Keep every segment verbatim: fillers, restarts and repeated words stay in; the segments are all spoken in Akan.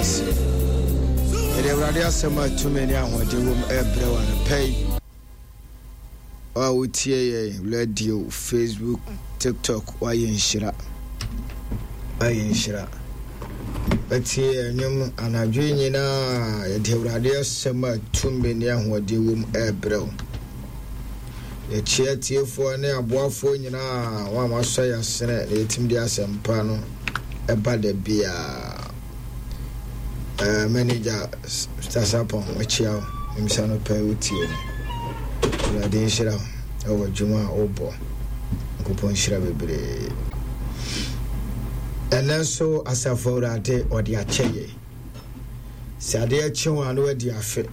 ase. Yɛde Awurade asɛm a tumi ne ahoɔden wom ɛrebrɛ wo anɔpa yi. Wo a wotie yɛn radio, Facebook, TikTok, woayɛ nhyira. Woayɛ nhyira. Woatie yɛn nnwom anadwo yi nyinaa. Yɛde Awurade asɛm a tumi ne ahoɔden wom ɛrebrɛ wo. Yɛkyia atiefoɔ ne aboafoɔ nyinaa, wɔn a wɔasɔ yɛn asene na yɛtumi de asɛmpa no ɛba da biara. Uh, manager Mister Sapon, wakyia wo. Nimsa no pɛ wotie no. Awurade nhyira wo ɛwɔ adwuma a wobɔ. Nyankopɔn nhyira bebree. Ɛnɛ nso asafo Awurade ɔde akyɛ yɛ. Sɛ adeɛ kye wo a na wadi afe.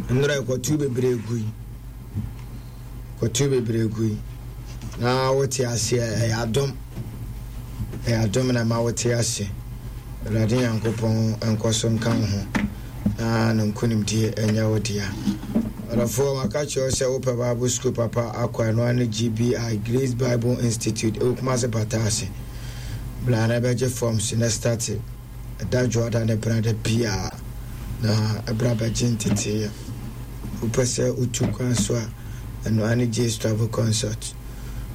Nnora ɛkɔtu bebree gui. Kɔtu bebree gui. Na wote aseɛ, ɛyɛ adom. Ɛyɛ adom na ɛma wote ase. Awurade Nyankopɔn nkɔ so nka wo ho na ne nkonimdie ɛnyɛ wo dea. Ɔdɔfoɔ, maka kyerɛ wo sɛ wopɛ Bible school papa akɔ ɛno ara ne G B I, Grace Bible Institute, ɛwɔ Kumasi Pata ase. Bra na ɛbɛgye forms na starte ɛda dwoada ne brada biara na ɛbra bɛgye nteteeɛ. Wopɛ sɛ wotu kwan so a, ɛno ara ne J's Travel Consult.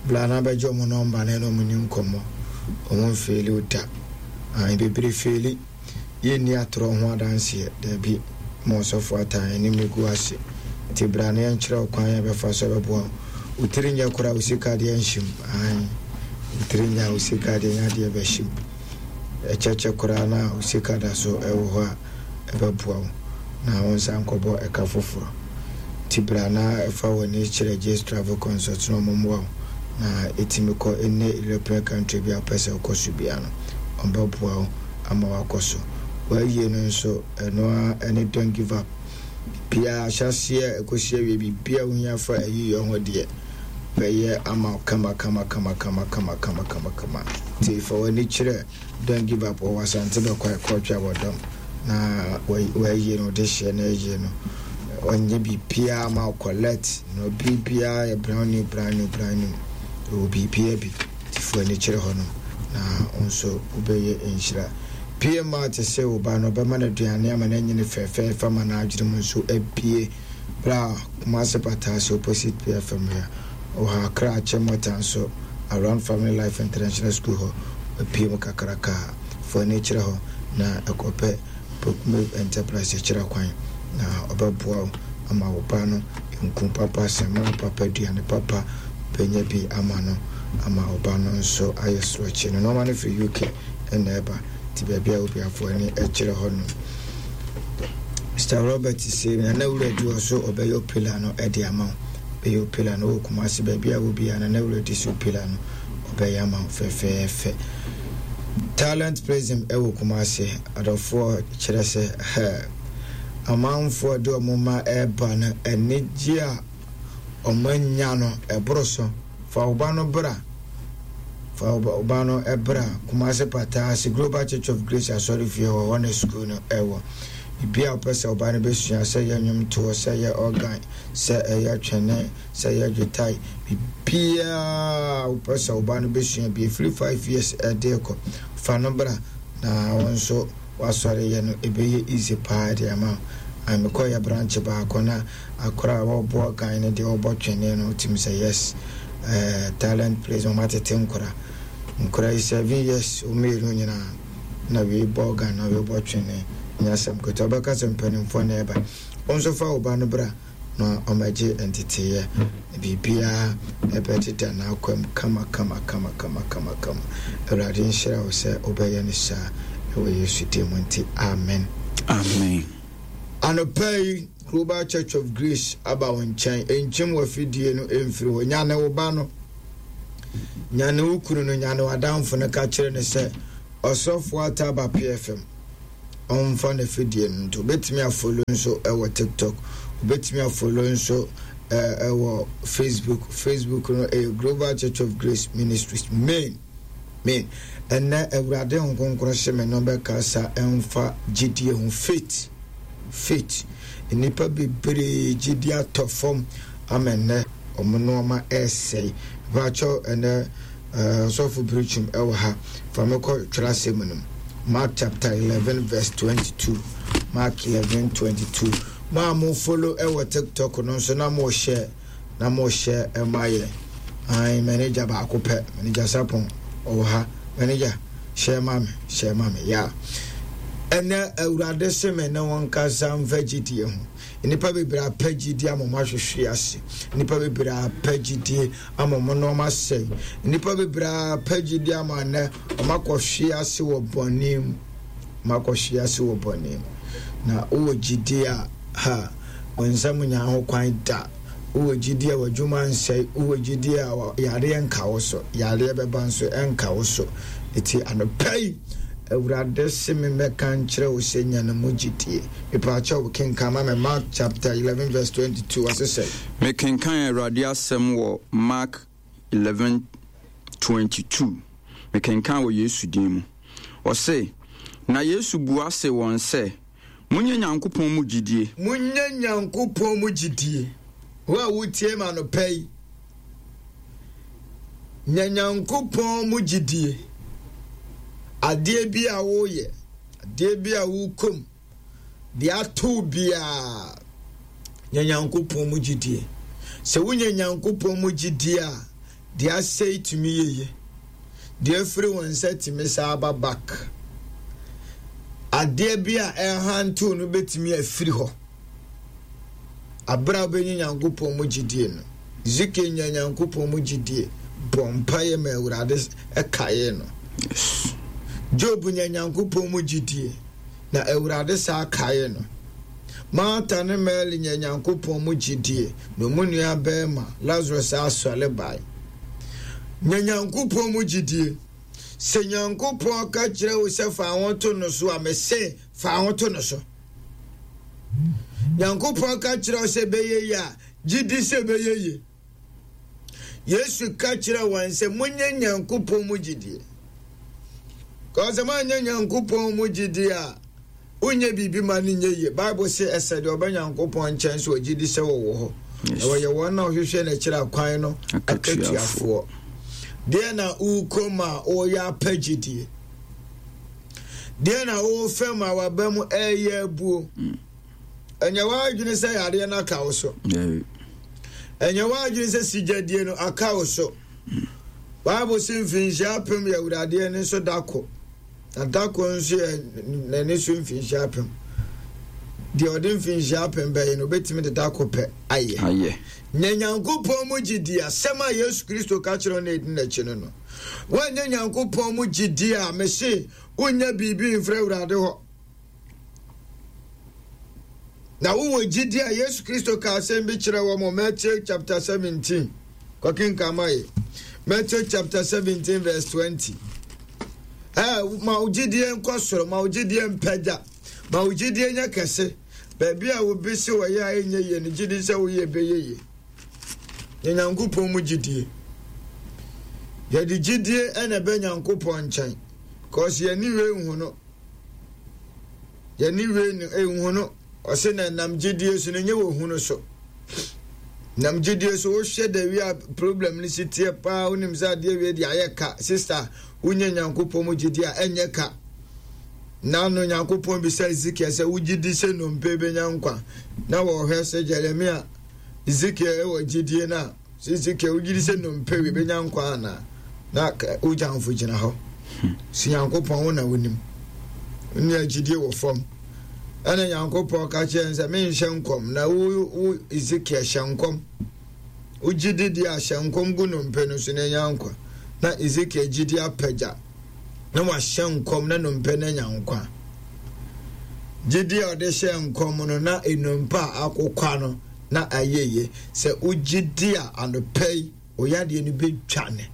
Bra na bɛgye ɔmo nɔmba na ɛne ɔmo ni nkɔmmɔ. Ɔmo mfeeli wo da. Ae, bebree feeli. Yɛnni atorɔ ho adanseɛ. Daabi, ma ɔsɔfo ataa anim gu ase. Nti bra na yɛnkyerɛ wo kwan a yɛbɛfa so abɛboa wo. Wo tiri nyɛ koraa, wo sika deɛ nhyem. Ae, wo tiri nyɛ a, wo sika deɛ nyɛ adeɛ bɛhyem. Ɛkyɛkyɛ koraa na wo sika da so ɛwɔ hɔ a, ɛbɛboa wo na wo nsa nkɔbɔ ɛka foforɔ. Nti bra na fa w'ani kyerɛ J's Travel Consult na ɔmo mmoa wo na ɛtumi kɔ any European country bi a wopɛ sɛ wokɔ so biara no, ɔmo bɛboa wo ama wakɔ so. W'ayie no nso, ɛno ara ɛne don't give up. Biribiara ahyɛaseɛ ɛkɔsi awie, biribiara wohia fa ayiyɔ ho deɛ, bɛyɛ ama wo kama kama kama kama kama kama kama kama. Nti fa w'ani kyerɛ Don't give up wɔ Asante Bɛkwae kɔɔtwe abɔdɔm na w'ayie no, wode hyeɛ no ayie no, ɔnyɛ biribiara ma wo collect na biribiara yɛ brand new brand new brand new. Ɛwɔ biribiara bi. Nti fa w'ani kyerɛ hɔ nom na wo nso wobɛyɛ nhyira. P M A te sɛ wo ba no, ɔbɛma no aduane ama no anyini fɛfɛɛfɛ ama n'adwene mu nso abue. Bra Kumasi Pataase opposite P F M ha. Wɔ ha Accra Achimota nso around Family Life International School hɔ wapue mu kakraka. Fa w'ani kyerɛ hɔ na ɛkɔpɛ Pokume Enterprise kyerɛ kwan na ɔbɛboa wo ama wo ba no nku papa, samina papa, aduane papa bɛnya bi ama no ama wo ba no nso ayɛ sorɔkye. No nneɛma no firi U K ɛna ɛba nti baabi a obiafoɔ ani kyerɛ hɔ no. Mister Robert se Nana Wura di hɔ so ɔbɛyɛ opila no ɛde ama wo. Bɛyɛ opila no wɔ Kumasi baabi a wɔ biara Nana Wura di so opila no ɔbɛyɛ ama wo fɛfɛɛfɛ. Talent Prism ɛwɔ Kumasi adɔfoɔ kyerɛ sɛ hɛ amanfoɔ de ɔmo ma ɛba no anigye a ɔmo anya no ɛboro so. Fa wo ba no bra. Fa wo ba no ɛbra Kumasi Pataase Global Church of Grace asɔre fie hɔ, hɔ na sukuu no ɛwɔ. Biribi a wopɛ sɛ wo ba no bɛsua, sɛ ɛyɛ nnwomtoɔ, sɛ ɛyɛ organ, sɛ ɛyɛ twene, sɛ ɛyɛ dwetae, biribiara a wopɛ sɛ wo ba no bɛsua bi, ɛfiri five years ɛde kɔ, fa no bra na wo nso w'asɔre yɛ no ɛbɛyɛ easy paa de ama wo. Ae, mekɔyɛ branch baako na akora a wɔbɔ organ no deɛ wɔbɔ twene no, wotumi sɛ yes, eh, talent place, wɔn atete nkora. Nkora yi seven years, wɔn mmienu nyinaa na wei bɔ organ na wei bɔ twene. Nyɛ asɛm ketewa, wobɛka sɛ mpanimfoɔ na ɛba. Wo nso fa wo ba no bra na ɔmmɛgye nteteeɛ na biribiara ɛbɛdeda n'akwam kama kama kama kama kama kama. Awurade nhyira wo sɛ wobɛyɛ no saa ɛwɔ Yesu din mu nti, amen. Amen. Anɔpa yi, Global Church of Grace aba wo nkyɛn. Nkyem w'afidie no mfiri hɔ. Nyane wo ba no, nyane wo kunu no, nyane w'adamfo no, ka kyerɛ no sɛ ɔsɔfo ata aba P F M. Ɔmfa n'afidie no nto. Wobɛtumi afolo nso ɛwɔ TikTok. Wobɛtumi afolo nso ɛwɔ Facebook. Facebook no ɛyɛ Global Church of Grace Ministries main. Main. Ɛnɛ Awurade Nkonkron hyɛ me no bɛkasa ɛmfa gyidie ho. Faith. Faith. Nnipa bebree gyidie atɔ fam ama ɛnɛ ɔmo nneɛma ɛresɛe. Mpakyɛw ɛnɛ ɔsɔfo Birikyim ɛwɔ ha. Fa me kɔ twerɛ asɛm no mu. Mark chapter eleven verse twenty-two. Mark eleven twenty-two. Mo a mo follow ɛwɔ TikTok no nso na mo share na mo share ɛma yɛ. Ayi manager baako pɛ, manager Sapon ɔwɔ ha. Manager share ma me, share ma me. Yeah. Ɛnɛ Awurade se me ne wɔn kasa mfa gyidie ho. Nnipa bebree apɛ gyidie ama wɔn ahwehwe ase. Nnipa bebree apɛ gyidie ama wɔn nneɛma asɛe. Nnipa bebree apɛ gyidie ama nnɛ wɔn akɔhwe ase wɔ bɔne mu. Wɔn akɔhwe ase wɔ bɔne mu. Na wowɔ gyidie a, ha, wɔn nsam nya ho kwan da. Wowɔ gyidie a w'adwuma nsɛe. Wowɔ gyidie a yareɛ nka wo so. Yareɛ bɛba nso ɛnka wo so. Eti anɔpa yi, Awurade se me mmɛka nkyerɛ wo sɛ nya ne mu gyidie. Mepaakyɛw wo kenkan ma me Mark chapter eleven verse twenty-two ɔse sɛ. Mekenkan Awurade asɛm wɔ Mark eleven twenty-two. Mekenkan wɔ Yesu din mu. Ɔse, na Yesu bua se wɔn sɛ, monyɛ Nyankopɔn mu gyidie. Monyɛ Nyankopɔn mu gyidie. Wo a wotie ma no pɛ yi, nya Nyankopɔn mu gyidie. Adeɛ bi a woyɛ, adeɛ bi a wokom, deɛ ato biara, nya Nyankopɔn mu gyidie. Sɛ wonya Nyankopɔn mu gyidie a, deɛ asɛe tumi yeye. Deɛ afiri wɔn nsa tumi saa aba back. Adeɛ bi a ɛhantew no bɛtumi afiri hɔ. Abere a wobɛnya Nyankopɔn mu gyidie no, Ezekiel nya Nyankopɔn mu gyidie, bɔ mpaeɛ ma Awurade ɛkaeɛ no. Job nya Nyankopɔn mu gyidie, na Awurade saa kaeɛ no. Martha ne Mary nya Nyankopɔn mu gyidie, na ɔmu nua bɛrima Lazarus asɔre bae. Nya Nyankopɔn mu gyidie. Sɛ Nyankopɔn ka kyerɛ wo sɛ fa ho to no so a, mese fa ho to no so. Nyankopɔn ka kyerɛ wo sɛ bɛyɛ yie a, gyidi sɛ bɛyɛ yie. Yesu ka kyerɛ wɔn sɛ monyɛ Nyankopɔn mu gyidie. Kɔsɛ moanyɛ Nyankopɔn mu gyidie a, wonyɛ biribi ma no nyɛ yie. Bible sɛ ɛsɛ deɛ ɔbɛ Nyankopɔn nkyɛn so ɔgyidi sɛ wɔwɔ hɔ. Na wɔyɛ wɔn a wɔhwehwɛ n'akyiri akwan no akatuafoɔ. Deɛ na wokɔ mu a wɔyɛ apɛ gyidie. Deɛ na wofɛ mu a waba mu ɛyɛ abuo. Ɛnyɛ w'adwene sɛ yareɛ no aka wo so. Ɛnyɛ w'adwene sɛ sigyadie no aka wo so. Bible sɛ mfinhyia apem yɛ Awurade ani so da ko. Na da ko nso yɛ n'ani so mfinhyia apem. Deɛ ɔde mfinhyia apem bɛyɛ no, obɛtumi de da ko pɛ ayɛ. Ayɛ. Nyɛ Nyankopɔn mu gyidie, asɛm a Yesu Kristo ka kyerɛ no ɛdi n'akyi no no. Woanyɛ Nyankopɔn mu gyidie a, mese wonyɛ biribi mfrɛ Awurade hɔ. Na wowɔ gyidie a, Yesu Kristo ka asɛm bi kyerɛ wɔn wɔ Matthew chapter seventeen. Kɔkenkan ma yɛ. Matthew chapter seventeen verse twenty. Eh, ma wo gyidie nkɔ soro, ma wo gyidie mpagya, ma wo gyidie nyɛ kɛse. Baabi a obi se wɔyɛ a ɛnyɛ yie no, gyidi sɛ woyɛ bɛyɛ yie. Yɛ Nyankopɔn mu gyidie. Yɛde gyidie ɛna ɛbɛ Nyankopɔn nkyɛn. Because yɛne wei nhu no. Yɛne wei nhu no. Ɔse na nam gyidie so no nyɛ wɔ hu no so. Nam gyidie so wohwɛ da wi a problem no si teɛ paa, wonim sɛ adeɛ wei de ayɛ ka. Sister, wonya Nyankopɔn mu gyidie a ɛnyɛ ka. Na no Nyankopɔn bisa Ezekiel sɛ wogye di sɛ nnompe bɛnya nkwa. Na wɔhwɛ sɛ Jeremia, Ezekiel wɔ gyidie no a, sɛ Ezekiel wogye di sɛ nnompe wei bɛnya nkwa anaa? Na wogyamfo gyina hɔ. Si Nyankopɔn wo na wonim. Nea gyidie wɔ fam. Ɛna Nyankopɔn ka kyerɛ no sɛ menhyɛ nkɔm na wo wo Ezekiel hyɛ nkɔm. Wogye di deɛ a hyɛ nkɔm gu nnompe no so na nya nkwa. Na Ezekiel gyidi apagya na wahyɛ nkɔm na nnompe no anya nkwa. Gyidi a ɔde hyɛ nkɔm no na nnompe a akokwa no na ayɛ yie. Sɛ wogye di a anɔpa yi oyadeɛ no bɛdwane.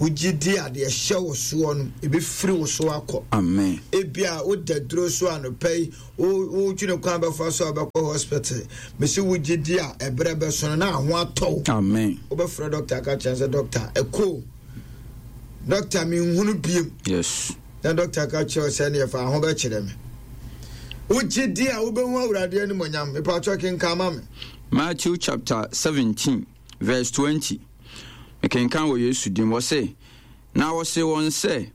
Wogye di a deɛ ɛhyɛ wo soɔ no ɛbɛfiri wo so akɔ. Amen. Ebia woda duro so anɔpa yi, wotwene kwan bɛfa so a wobɛkɔ hospital. Mese wogye di a ɛberɛ bɛso no na aho atɔ wo. Amen. Wobɛfrɛ doctor aka kyerɛ sɛ doctor ɛkɔ. Doctor menhunu biem. Yes. Na doctor ka kyerɛ sɛ neɛ fa ho bɛkyerɛ me. Wogye di a wobɛhu Awurade animonyam. Mepatwɔ kenkan ma me. Matthew chapter seventeen verse twenty. Mekenkan wɔ Yesu din. Wɔse, na wɔse wɔn sɛ,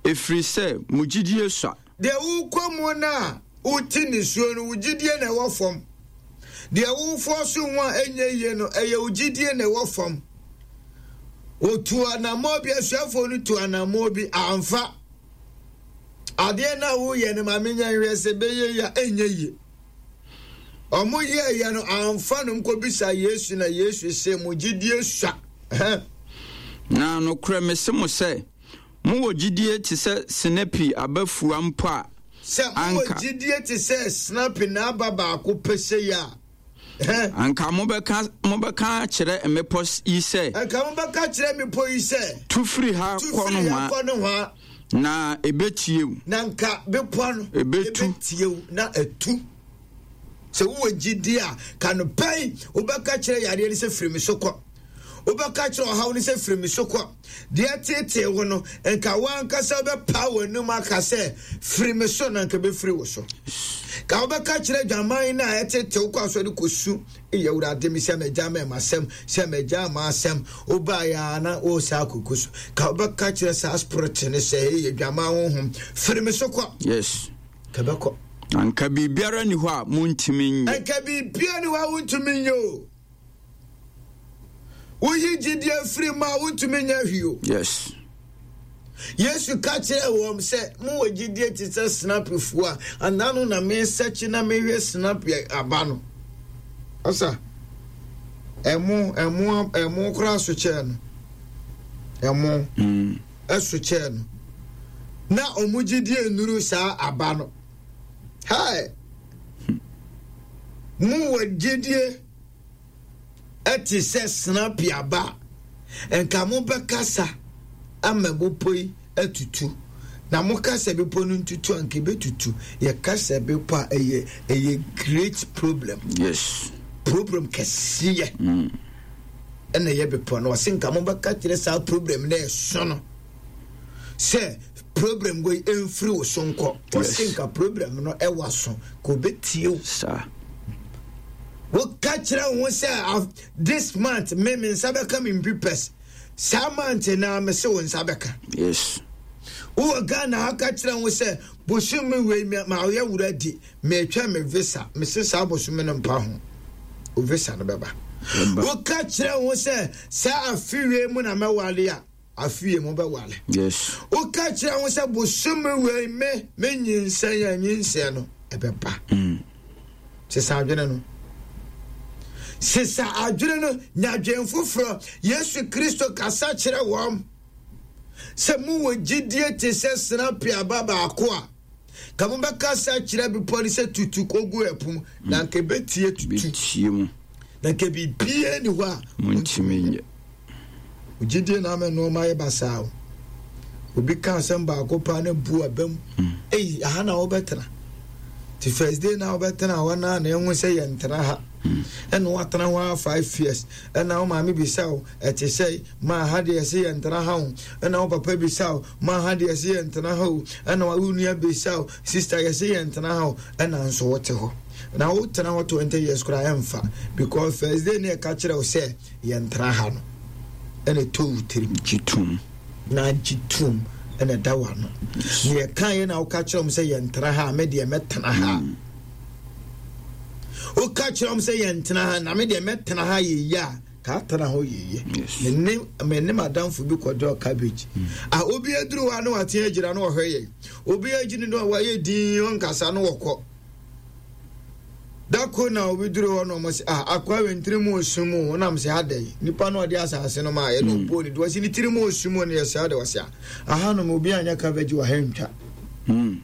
Ɛfiri sɛ mo gyidie sua. Deɛ wokɔ mu no a wote nisuo no, wo gyidie na ɛwɔ fam. Deɛ wofoɔ so ho a ɛnyɛ yie no, ɛyɛ wo gyidie na ɛwɔ fam. Wɔtu anammɔ bi, asuafoɔ no tu anammɔ bi amfa. Adeɛ no a woyɛ no, ma menya nhwɛ sɛ bɛyɛ yie a, ɛnyɛ yie. Ɔmo yɛɛyɛ no amfa no nkɔbisa Yesu, na Yesu sɛ mo gyidie sua. Na nokorɛ mese mo sɛ, mowɔ gyidie te sɛ sinapi aba fua mpo a, sɛ mowɔ gyidie te sɛ sinapi n'aba baako pɛ sɛ yi a, anka mobɛka mobɛka kyerɛ mmepɔ yi sɛ, anka mobɛka kyerɛ mmepɔ yi sɛ, tu firi ha kɔ nohoa, na ɛbɛtie wo. Na nka bepɔ no ɛbɛtu ɛbɛtie wo na ɛtu. Sɛ wowɔ gyidie a, ka no pɛn, wobɛka kyerɛ yareɛ no sɛ firi me so kɔ. Wobɛka kyerɛ ɔhaw no sɛ firi me so kɔ. Deɛ tetee wo no, nka woankasa wobɛpa w'anum aka sɛ firi me so, na nka bɛfiri wo so. Ka wobɛka kyerɛ dwaman no a ɛtete wo kɔ asɔre kɔsu, ɛyɛ Awurade me sɛ magya ma m'asɛm, sɛ magya ma asɛm, wobaeɛ a na wo saa kɔku so. Ka wobɛka kyerɛ saa spirit no sɛ ɛyɛ dwaman honhom, firi me so kɔ. Yes. Ka bɛkɔ. Anka biribiara ni hɔ a montumi nyɛ. Anka biribiara ni hɔ a wontumi nyɛ o. Woyi gyidie firi mu a wontumi nyɛ hwee o. Yes. Yesu ka kyerɛɛ wɔn sɛ, mowɔ gyidie te sɛ sinapifoɔ a, anaa no na mesɛkye na mehwɛ sinapi aba no. Ɔsa, ɛmo, ɛmo, ɛmo koraa so kyɛɛ no. Ɛmo Mm. ɛso kyɛɛ no. Na ɔmo gyidie nnuru saa aba no. Hai! Mowɔ gyidie ɛte sɛ sinapi aba a, nka mobɛkasa ama bepɔ yi atutu. Na mokasa bepɔ no ntutu a, nka ɛbɛtutu. Yɛkasa bepɔ a, ɛyɛ, ɛyɛ great problem. Yes. Problem kɛseɛ Mm. ɛna ɛyɛ bepɔ no. Ɔse nka mobɛka kyerɛ saa problem no ɛso no sɛ problem wei ɛmfiri wo so nkɔ. Ɔse Yes. nka problem no ɛwɔ so, ka obɛtie wo. Saa. Woka kyerɛ wo ho sɛ ah, this month me me nsa bɛka me mpipɛs. Saa month na me se wo nsa bɛka. Yes. Wowɔ Ghana ha, ka kyerɛ wo sɛ bosome wei me- ma ɔyɛ wura di metwa me visa, me se saa bosome no mpa ho, wo visa no bɛba. Bɛba. Woka kyerɛ wo sɛ saa afe wei mu na mɛwale a, afe wei mu bɛwale. Yes. Woka kyerɛ wo sɛ bosome wei me menyinsɛn a, nyinsɛn no ɛbɛba. Mm. Sesa adwene no, sesa adwene no, nya adwene foforɔ. Yesu Kristo kasa kyerɛ wɔn sɛ mowɔ gyidie te sɛ sinapi aba baako a, ka mobɛkasa kyerɛ bepɔ no sɛ tutu kɔgu ɛpo mu, na nka ɛbɛtie tutu. Bɛtie mu. Na nka biribiara ni hɔ a Montumi nyɛ. Gyidie na ama nneɛma ayɛ basaa o. Obi ka asɛm baako paa na bu aba mu. Ei, aha na wobɛtena. Ti first day na wobɛtena hɔ na na ɛho sɛ yɛntena ha. Ɛna woatena hɔ a five years. Ɛna wo maame bisa wo, ɛte sɛ ma ha deɛ ɛsɛ yɛntena ha o. Ɛna wo papa bisa wo, ma ha deɛ ɛsɛ yɛntena ha o. Ɛna wo nua bisa wo, sister yɛsɛ yɛntena ha o. Ɛna nso wote hɔ. Na wotena hɔ twenty years koraa ɛmfa, because first day ne ɛka kyerɛ wo sɛ yɛntena ha no, ɛna ɛtɔ wo tirim. Gye tom. Na gye tom ɛna ɛda w'ano. Na yɛka yɛ na woka kyerɛ m sɛ yɛntena ha a, me deɛ mɛtena ha. Woka kyerɛ m sɛ yɛntena ha na me deɛ mɛtena ha yɛyie a, ka atena hɔ yɛyie. Yes. Me ne me ne madamfo bi kɔdɔ cabbage. A obi aduru hɔ a na wate agyina na ɔhwɛ yɛn. Obi agyina na wayɛ din ɔnkasa na wɔkɔ. Dako na obi duru hɔ na ɔmo sɛ, ah, akwa wei ntiri mu osu mu, ɔnam sɛ adɛ yi nipa na ɔde asase no ma yɛ na ɔbuo ne do, ɔsi ne tiri mu osu mu no yɛ sɛ adɛ, ɔsi a ahanom obi anya cabbage wɔ ha ntwa. Mm.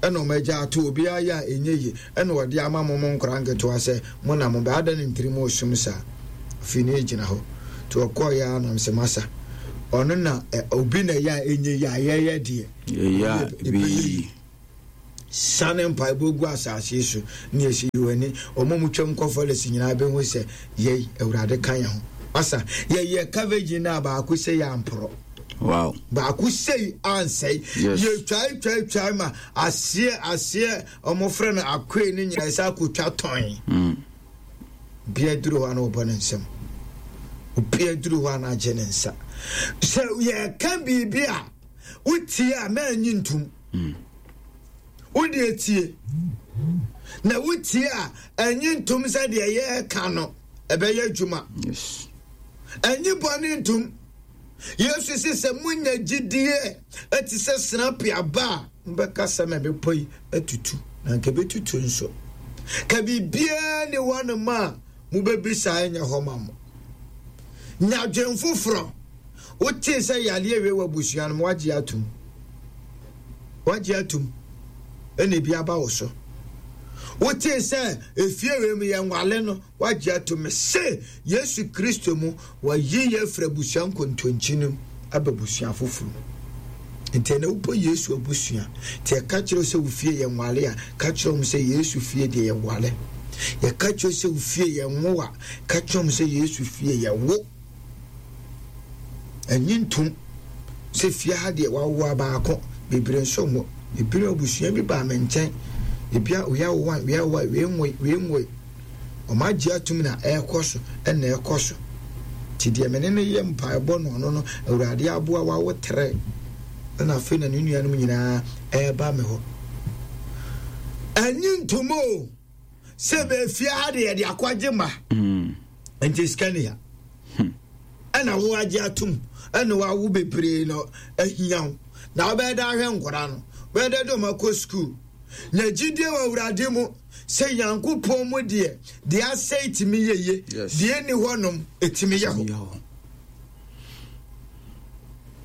Ɛna ɔmo agya ato obi ayɛ a ɛnyɛ yie, ɛna ɔde ama mo mo nkora nketewa sɛ mo na mo bɛ ada ne ntiri mu osum saa. Afei ne egyina hɔ nti ɔkɔɔ yɛ anam sɛ masa ɔno na ɛ obi na ɛyɛ a ɛnyɛ yie a yɛyɛ deɛ Yɛyɛ a ɛbɛyɛ yie. Sane mpaebɔ gu asase so ne yɛsi yi w'ani. Ɔmo mu twam kɔ forest nyinaa bɛhu sɛ yɛi Awurade ka yɛn ho. Masa yɛyɛ cabbage no a baako sɛ yɛ amporɔ. Wow. Baako sei ansɛe. Yes. Yɛtwae twae twae ma aseɛ aseɛ ɔmo frɛ no akoe no nyinaa sɛ akotwa tɔn. Mm. Bia duru hɔ a na wɔbɔ ne nsam. Obia duru hɔ a na agye ne nsa. Sɛ yɛka biribi a Wotie a mɛnyi ntom. Wode etie. Na wotie a ɛnyi ntom sɛ deɛ yɛreka no ɛbɛyɛ adwuma. Yes. Ɛnyi bɔne ntom. Yesu se sɛ monya gyidie ɛte sɛ sinapi aba a, mobɛka sɛ ma bepɔ yi atutu, na nka ɛbɛtutu nso. Ka biribiara ne hɔnom a mobɛbisa ɛnyɛ hɔ ma mo. Nya adwen foforɔ. Wotee sɛ yareɛ wei wɔ abusua no mu, wagye atom. Wagye atom. Ɛna ebi aba wo so. Wotee sɛ efie wei mu yɛ nwale no, wagye atom. Se Yesu Kristo mu, wayi yɛ afiri abusua nkontonkyi no mu aba abusua foforɔ mu. Nti ɛnɛ wobɔ Yesu abusua. Nti ɛka kyerɛ wo sɛ wo fie yɛ nwale a, ka kyerɛ wɔn sɛ Yesu fie deɛ yɛ wale. Yɛka kyerɛ sɛ wo fie yɛ nwo a, ka kyerɛ wɔn sɛ Yesu fie yɛ wo. Ɛnye ntom sɛ fie ha deɛ wawo baako, bebree nso nwo. Ebi abusua bi baa me nkyɛn. Ebi a wei awo one, wei awo one, wei nwoe, wei nwoe. Ɔmo agye atum na ɛrekɔ so, ɛna ɛrekɔ so. Nti deɛ me ne no yɛ mpaebɔ no ɔno no, Awurade aboa wawo tere. Ɛna afei na ne nuanom nyinaa ɛreba me hɔ. Ɛnye ntom o, sɛ bɛfie ha deɛ yɛde akɔgye ma. Mm. Nti sika ni ha. Ɛna wo agye atom, ɛna wawo bebree no ahia wo. Na wobɛyɛ dɛ ahwɛ nkwadaa no, wobɛyɛ dɛ de ɔmo akɔ sukuu. Na gyidie wɔ Awurade mu sɛ Nyankopɔn mu deɛ, deɛ asɛe tumi yɛ yie, Yes. deɛ ɛnni hɔnom ɛtumi yɛ hɔ. Yɛ hɔ.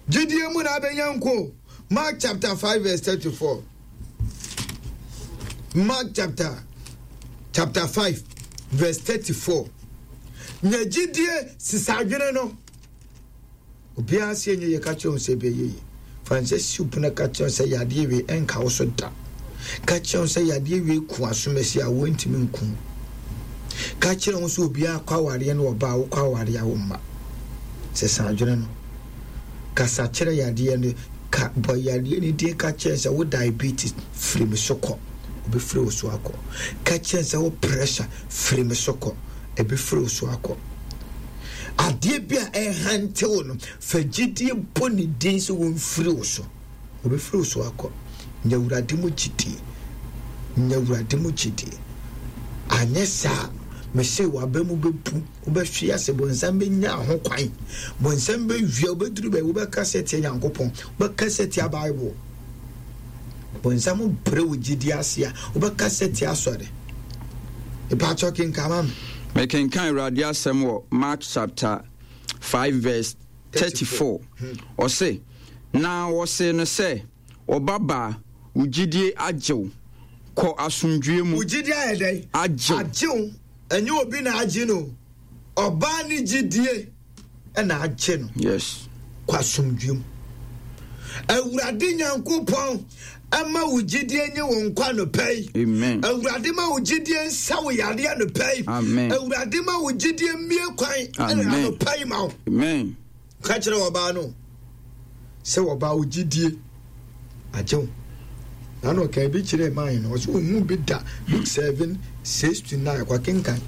Gyidie mu na abɛnya nko. Mark chapter five verse thirty-four. Mark chapter, chapter five verse thirty-four. Nya gyidie sisa adwene no. Obiara se enye yɛ ka kyerɛ wo sɛ ɛbɛyɛ yie. Fa nsa si wo pono ka kyerɛ wo sɛ yadeɛ wei ɛnka wo so da. Ka kyerɛ wo sɛ yadeɛ wei ku asomasi a wɔntumi nku. Ka kyerɛ wo sɛ obiara kɔ awareɛ ne ɔbaa wokɔ awareɛ a wo mma. Sesa adwene no. Kasa kyerɛ yadeɛ no. Ka bɔ yadeɛ no din ka kyerɛ sɛ wo diabetes firi me so kɔ. Obɛfiri wo so akɔ. Ka kyerɛ sɛ wo pressure firi me so kɔ. Ɛbɛfiri wo so akɔ. Adeɛ bi a ɛhante wo no, fa gyidie bɔ ne din sɛ wɔmfiri wo so. Obɛfiri wo so akɔ. Nya Awurade mu gyidie. Nya Awurade mu gyidie. Anyɛ saa, mese w'aba mu bɛbu, wobɛhwe ase, bonsam bɛnya ho kwan. Bonsam bɛwia, wobɛduru baabi, wobɛka sɛ tia Nyankopɔn, wobɛka sɛ tia Bible. Bonsam brɛ wo gyidie ase a, wobɛka sɛ tia asɔre. Ìpàtọ́ kenkan ma me. Mekenkan Awurade asɛm wɔ Mark chapter five verse thirty-four. Ɔse, na wɔse no sɛ, ɔbabaa, wo gyidie agye wo. Kɔ asomdwie mu. Wo gyidie ayɛ dɛn? Agye wo. Agye wo. Ɛnyɛ obi na agye no. Ɔbaa ne gyidie ɛna agye no. Yes. Kɔ asomdwie mu. Awurade Nyankopɔn ɛma wo gyidie nye wo nkwa anɔpa yi. Amen. Awurade ma wo gyidie nsa wo yareɛ anɔpa yi. Amen. Awurade ma wo gyidie mmie kwan Amen. anɔpa yi ma wo. Amen. Ka kyerɛ ɔbaa no sɛ ɔbaa wo gyidie agye wo. Na na ɔka bi kyerɛ man no, ɔsɛ ohun bi da Luke seven six to nine kwa kenkan.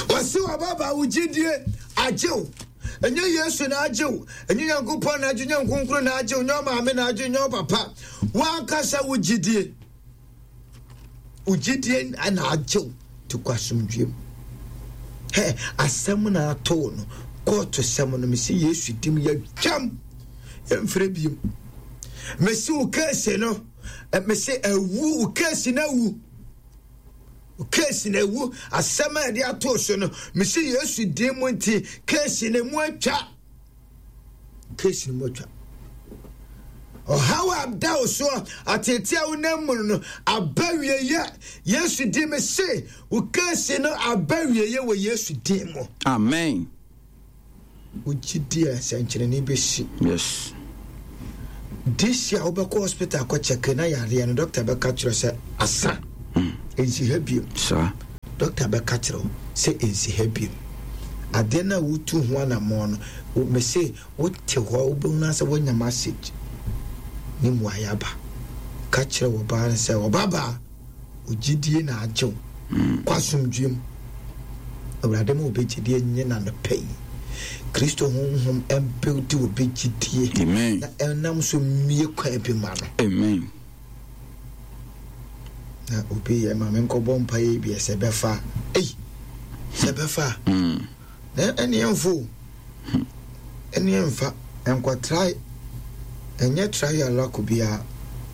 Ɔsɛ ɔbaa baa wo gyidie agye wo. Ɛnyɛ Yesu na agye wo, ɛnyɛ Nyankopɔn na agye, nyɛ Nkonkron na agye wo, nyɛ ɔmaame na agye, nyɛ ɔpapa. Wankasa wo gyidie. Wo gyidie na agye wo te kɔ asomdwie mu. Hɛ, asɛm na ato wo no, kɔɔto sɛm no, mesi Yesu dim yɛtwam, yɛmfrɛ biem. Mesi wo keesi no, mesi awu, wo keesi no awu. Wo keesi no awu, asɛm a yɛde ato so no, mesi Yesu dim mu nti, keesi no mu atwa. Keesi no mu atwa. Ɔhaw a da wo soɔ, atete a wonam mu no, aba wieyɛ. Yesu din me se, wo keesi no aba wieyɛ wɔ Yesu din mu. Amen. Wo gyidie a nsɛnkyerɛnne bɛsi. Yes. This year wobɛkɔ hospital akɔ check na yareɛ no, doctor bɛka kyerɛ sɛ asa. Ɛnsi ha bio. Saa. Doctor bɛka kyerɛ wo sɛ ɛnsi ha bio. Adeɛ no a wotu ho anammɔn no, me se wote hɔ wobɛhunu sɛ woanya message ne mmuaeɛ aba. Ka kyerɛ wo baa no sɛ ɔbabaa, wo gyidie na agye wo. Kɔ asomdwie mu. Awurade ma wobɛgyidie nye n'anɔpa yi. Kristo honhom ɛmbuildi obi gyidie. Amen. Na ɛnam so mmie kwan bi ma no. Amen. Na obi yɛ ma menkɔbɔ mpaeɛ bi sɛ bɛfa. Ei, sɛ bɛfa. Mm. Na ɛne ɛmfo o. Ɛne ɛmfa. Ɛnkɔtrae. Ɛnyɛ try your luck biara.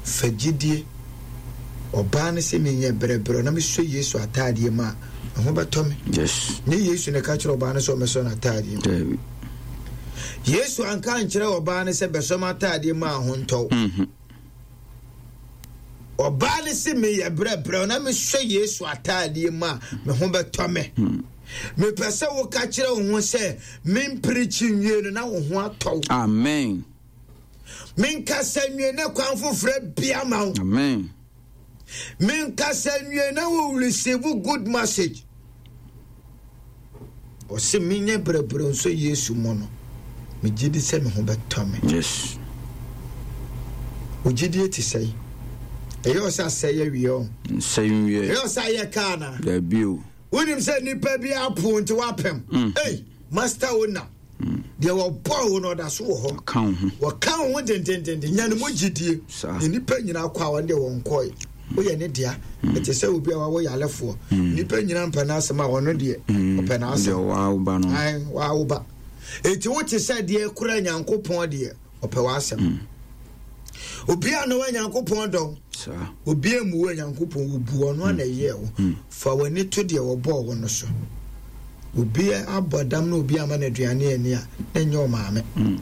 Fa gyidie. Ɔbaa no sɛ menyɛ brɛbrɛ na mesɔ Yesu ataadeɛ mu a, ɛho bɛtɔ me. Yes. Nye Yesu na ɛka kyerɛ ɔbaa no sɛ ɔmɛsɔ n'ataadeɛ mu. Dabi. Yesu anka ankyerɛ ɔbaa no sɛ bɛsɔ m'ataadeɛ mu a ho ntɔw. Mhm. Ɔbaa no sɛ meyɛ brɛbrɛ na mesɔ Yesu ataadeɛ mu a, me ho bɛtɔ me. Mepɛ sɛ woka kyerɛ wo ho sɛ mempirikyi nwie no na wo ho atɔ wo. Amen. Menkasa nwie na kwan foforɔ bia ma wo. Amen. Menkasa nwie na wo receive good message. Ɔse menyɛ brɛbrɛ nso Yesu mu no, megye di sɛ me ho bɛtɔ me. Yes. Wo gyidie te sɛe. Ɛyɛ ɔsɛ asɛe awie ɔ. Nsɛe nwie. Ɛyɛ ɔsɛ ayɛ kaa na. Dabi o. Wonim sɛ nnipa bi apo nti woapem. Mm. Ei, master owner. Deɛ wɔbɔɔ wo no ɔda so wɔ hɔ. Wɔka wo ho. Wɔka wo ho dendendenden. Nya ne mu gyidie. Saa. Na nnipa nyinaa kɔ a wɔn deɛ wɔn kɔe. Woyɛ ne dea. Ɛte sɛ obi a wawo yalefoɔ. Nnipa nyinaa mpɛ n'asɛm a ɔno deɛ ɔpɛ n'asɛm. Deɛ wawo ba no. Ae, wawo ba. Enti wote sɛ deɛ kura Nyankopɔn deɛ ɔpɛ w'asɛm. Obi a na wa Nyankopɔn dɔ. Saa. Obi a mu wɔ Nyankopɔn wo bu ɔno a na ɛyɛ wo. Fa w'ani to deɛ wɔbɔɔ wo no so. Obi abɔ dam na obi ama no aduane ani a na ɛnyɛ ɔmaame.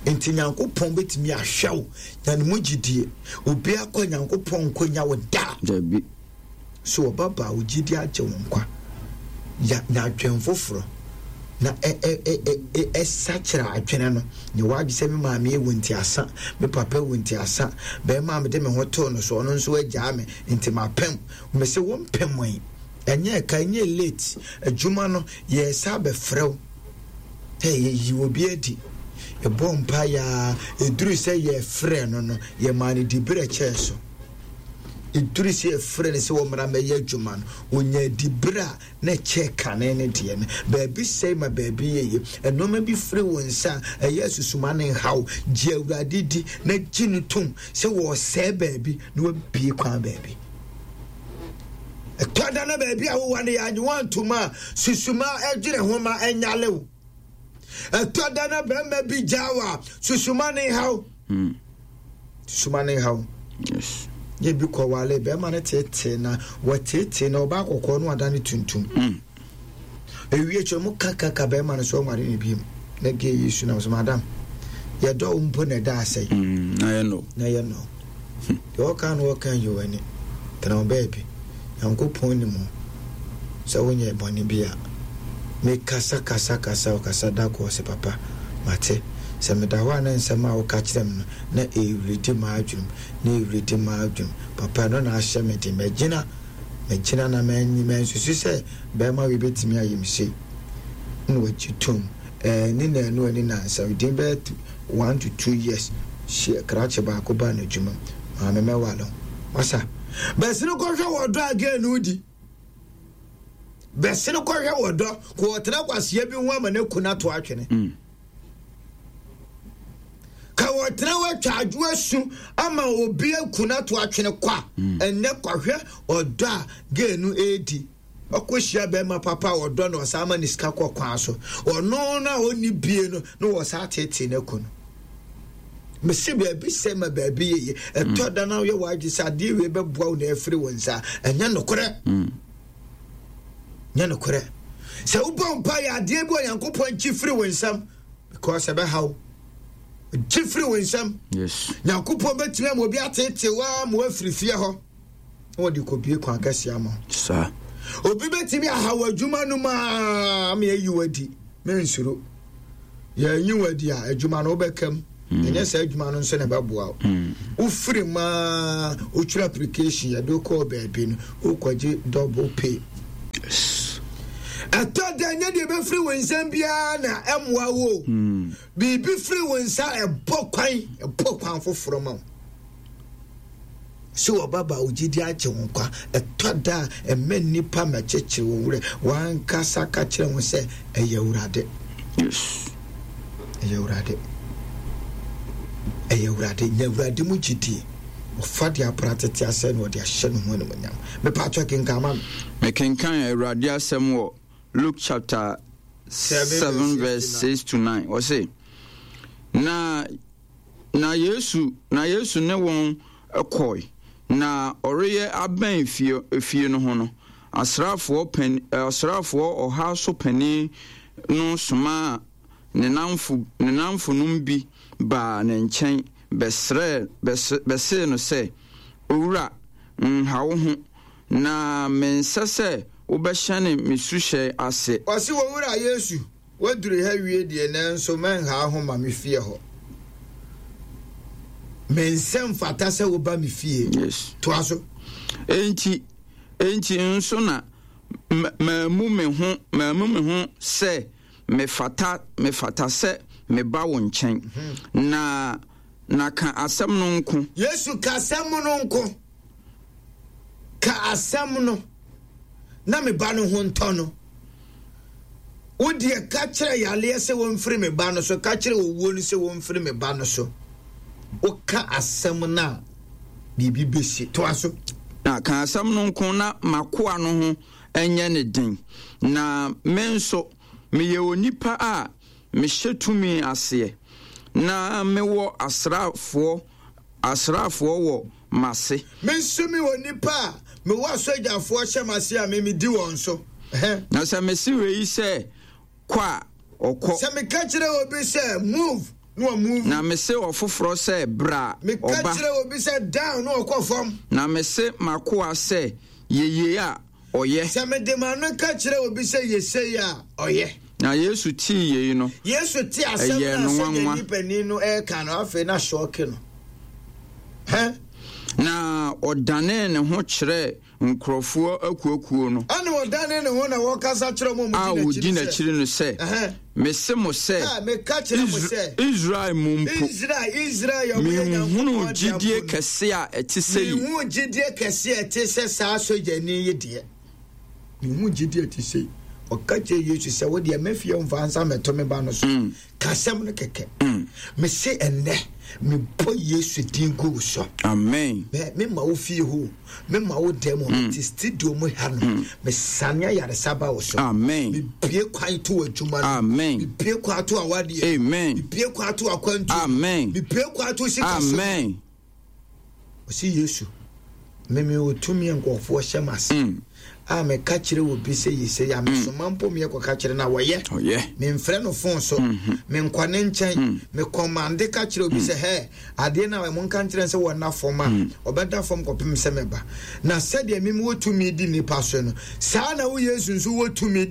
Nti Nyankopɔn bɛtumi ahwɛ wo na ne mu gyidie. Obi akɔ Nyankopɔn nkɔnya wo da. Dabi. So ɔbaba wo gyidie agye wo nkwa. Ya nya adwen foforɔ. Na ɛ ɛ ɛ ɛ ɛ ɛsakyera adwene no. Ne wadwe sɛ me maame ewu nti asa, me papa ewu nti asa, bɛrima a mede me ho too no so ɔno nso agyaa me nti mapem. Me sɛ wo mpem yi. Ɛnyɛ ɛka, ɛnyɛ late. Adwuma no yɛsa abɛfrɛ wo. Ɛ yɛyi obi adi. Ɛbɔ mpa yaa ɛduru sɛ yɛfrɛ no no yɛmaa no diberɛ kyɛɛ so. Ɛduru sɛ yɛfrɛ no sɛ wɔmmra mmɛyɛ adwuma no ɔnya diberɛ a na ɛkyɛ kane ne deɛ no. Baabi sɛe ma baabi yɛye. Ɛnneɛma bi firi wo nsa a ɛyɛ asusuma ne nhaw. Gye Awurade di na gye no tom sɛ wɔsɛe baabi na wabie kwan baabi. Ɛtɔ da na baabi a wowɔ no yɛ anyewa ntoma a susuma ɛdwene ho ma ɛnyale wo. Ɛtɔ da na bɛrima bi gyaa wo a susuma ne haw. Susuma ne haw. Yes. Yɛ bi kɔwale bɛrima no tetee na wɔtetee na ɔbaa kɔkɔɔ no ada ne tuntum. Mm. Ewie kyerɛ mu kakaka bɛrima no so ɔnware ne biem. Na gye Yesu na so madam. Yɛdɔ wo mpo na ɛda asɛe. Mm. Na yɛ no. Na yɛ no. Deɛ ɔka no ɔka yi w'ani. Tena wo baabi. Nyankopɔn nim wo. Sɛ wonyɛ bɔne bi a. Mekasa kasa kasa ɔkasa da kɔ sɛ papa mate. Sɛ meda hɔ a na nsɛm a woka kyerɛ me no na ɛredi m'adwenem na ɛredi m'adwenem. Papa no na ahyɛ me den. Magyina magyina na mansusu sɛ bɛrima wei bɛtumi ayɛ me sei. Na wagye tom. Ɛɛ ne naanu ani nansa within bɛyɛ one to two years hyɛ krakye baako baa n'adwuma mu. Maame mɛwale wo. Masa bɛsene kɔhwɛ wɔ dɔ a no di. Bɛsene kɔhwɛ wɔ dɔ kò ɔtena kwaseɛ bi ho ama ne kun ato atwene. Mm. Ka wɔtena watwa adwo asu ama obi aku no ato atwene kɔ a ɛnnɛ kɔhwɛ ɔdɔ a gay no ɛredi. Ɔkɔhyia bɛrima papa a ɔdɔ no ɔsan ma ne sika kɔ kwan so. Ɔno no a ɔnni bie no na wɔsan tetee no aku no. Mesi baabi sɛ ma baabi yɛye. Ɛtɔ da na woyɛ w'adwe sɛ adeɛ wei bɛboa wo na ɛfiri wo nsa. Ɛnyɛ nokorɛ. Nyɛ nokorɛ. Sɛ wobɔ mpa yɛ adeɛ bi wɔ Nyankopɔn nkyi firi wo nsam because ɛbɛha wo. Gye firi wo nsam. Yes. Nyankopɔn bɛtumi ama obi atete wo a ma woafiri fie hɔ. Na wɔde kɔbie kwan kɛseɛ ama wo. Saa. Obi bɛtumi aha wɔ adwuma no mu a ma yɛyi wo adi. Mensuro. Yɛnyi wo adi a adwuma no wobɛka mu. Ɛnyɛ sɛ adwuma no nso na ɛbɛboa wo. Wofiri mu a wotwerɛ application yɛde wokɔɔ baabi no wokɔgye double pay. Yes. Ɛtɔ da nyɛ deɛ ɛbɛfiri wo nsɛm biara na ɛmmoa wo. Biribi firi wo nsa ɛbɔ kwan ɛbɔ kwan foforɔ ma wo. Sɛ wɔbaba wo gyidi agye wo nkwa. Ɛtɔ da a ɛmɛ nnipa mɛkyekyere wo werɛ. Wankasa ka kyerɛ ho sɛ ɛyɛ Awurade. Yes. Ɛyɛ Awurade. Ɛyɛ Awurade. Nya Awurade mu gyidie. Ɔfa de apra tete asɛ na ɔde ahyɛ ne ho animuonyam. Mepatwɔ kenkan ma me. Mekenkan Awurade asɛm wɔ Luke chapter seven verse six to nine. Ɔse, na na Yesu na Yesu ne wɔn kɔe, na ɔreyɛ abɛn fie efie no ho no, asraafoɔ pan asraafoɔ ɔha so panin no somaa ne namfo ne namfonom bi baa ne nkyɛn bɛsrɛ bɛsee no sɛ, Owura, nha wo ho, na mensɛ sɛ wobɛhyɛne me suhyɛn ase. Ɔse, Owura Yesu, woaduru ha wie deɛ, nanso mɛnha ho ma me fie hɔ. Mensɛ mfata sɛ woba me fie. Yes. Toa so. Enti, enti nso na maamu me ho maamu me ho sɛ mefata mefata sɛ meba wo nkyɛn. Mm-hmm. Na na ka asɛm no nko. Yesu, ka asɛm no nko. Ka asɛm no na me ba no ho ntɔ no. Wo deɛ ka kyerɛ yareɛ sɛ wɔmfiri me ba no so, ka kyerɛ owuo no sɛ wɔmfiri me ba no so. Woka asɛm no a, biribi bɛsi. Toa so. Na ka asɛm no nko na m'akoa no ho nyɛ ne den. Na me nso, meyɛ onipa a mehyɛ tumi aseɛ, na mewɔ asraafoɔ asraafoɔ wɔ m'ase. Me nso mewɔ nipa a mewɔ asogyafoɔ hyɛ m'ase a me medi wɔn so. Na sɛ mese wei sɛ kɔ a, ɔkɔ. Sɛ meka kyerɛ obi sɛ move, na ɔmove. Na mese ɔfoforɔ sɛ bra, ɔba. Meka kyerɛ obi sɛ down, na ɔkɔ fam. Na mese m'akoa sɛ yɛ yei a, ɔyɛ. Sɛ mede m'ano ka kyerɛ obi sɛ yɛ sei a, ɔyɛ. Na Yesu tee yei no, Yesu te asɛm ɛyɛɛ no no a sɛdeɛ nwanwa. nipanin no reka no, afei na sɔɔke no. Hɛn? Na ɔdanee ne ho kyerɛɛ nkurɔfoɔ akuakuo no. Ɛna ɔdanee ne ho na wɔkasa kyerɛ wɔn a a wɔdi wɔdi n'akyiri n'akyiri no sɛ, sɛ, Mese mo sɛ, Ɛ, meka kyerɛ mo sɛ, Israel mu mpo, Israel, Israel yɛ ɔmo yɛ menhunuu Nyankopɔn gyidie deɛ mpo no. kɛse a ɛte sɛ yi. Menhuu gyidie kɛse a ɛte sɛ saa sogyani yi deɛ. Menhuu gyidie a ɛte sɛ yi. Ɔka kyerɛ Yesu sɛ, wo deɛ mɛfie mfa nsa mɛto me ba no so. Mm. Ka asɛm no kɛkɛ. Mm. Mese ɛnnɛ, mebɔ Yesu din gu wo so. Amen. Me mema wo fie hɔ, mema wo dɛm hɔ, mete studio mu ha no, mesane ayaresa ba wo so. Amen. Mebue kwan to w'adwuma no. Amen. Mebue kwan to awadeɛ. Amen. Mebue kwan to akwantuo. Amen. Mebue kwan to sikasɛm. Amen. Ɔsi Yesu, meme wɔ tumi a nkurɔfoɔ hyɛ m'ase Mm. a meka kyerɛ obi sɛ yi sɛ yɛ a mesoma mpo meyɛ kɔka kyerɛ no a wɔyɛ. Ɔyɛ. Memfrɛ no fon so, menkɔ ne nkyɛn, mekɔmande ka kyerɛ obi sɛ hɛ adeɛ no a monka nkyerɛ sɛ wɔnna fam a ɔbɛda fam kɔpem sɛ mɛba. Na sɛdeɛ meme wɔ tumi di nnipa so no, saa na wo Yesu nso wɔ tumi di